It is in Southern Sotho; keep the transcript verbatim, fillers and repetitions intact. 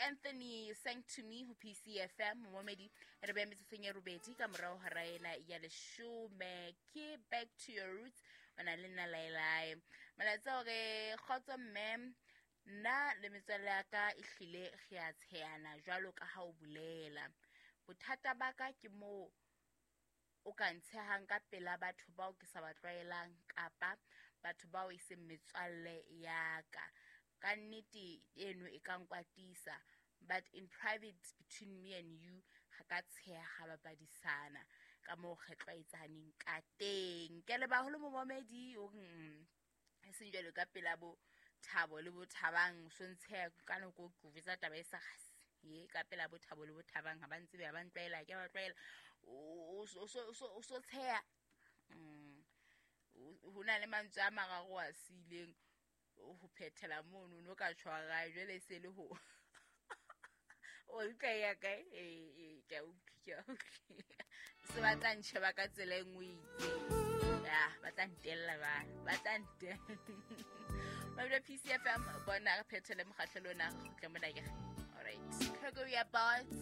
Anthony sang to me ho P C F M momedi re be metsotsong ya robedi ka morao hora ena ya leshome. Ke back to your roots o na le nna Laelae. Molaetsa hore kgotso mme, nna le metswalle ya ka e hlile re a tshehana jwalo ka ha o bolela. Bothata ba ka ke moo o ka ntshehang ka pela batho bao ke sa ba tlwaelang kapa batho bao e seng metswalle ya ka. Ka nnete eno e ka nkwatisa, but in private between me and you ga ka tsheha ga bapadisana ka moo re tlwaetsaneng ka teng. Ke le baholo momamedi o re, mm, e seng jwalo ka pela bo Thabo le bo Thabang, so ntsheha ka nako ke o jwetsa taba e sa kgase. Ye ka pela bo Thabo le bo Thabang ha ba ntsebe, ha ba ntlwaela, ke ba tlwaela. O, o, o, o, o, o so tsheha. Mm. Ho na le mantswe a mararo a siileng ho phethela mono, no ka tshwara jwale e se le ho o utlwa ya kae? Eh, eh, ke a utlwa, ke a utlwa. Se ba tla ntjheba ka tsela e nngwe e itseng. Ya, ba tla ntella ba, ba tla ntella. Mabelo P C F M, bona re phethele mokgahlelo ona, re kgutle mona ke. All right. Gregory Abbott.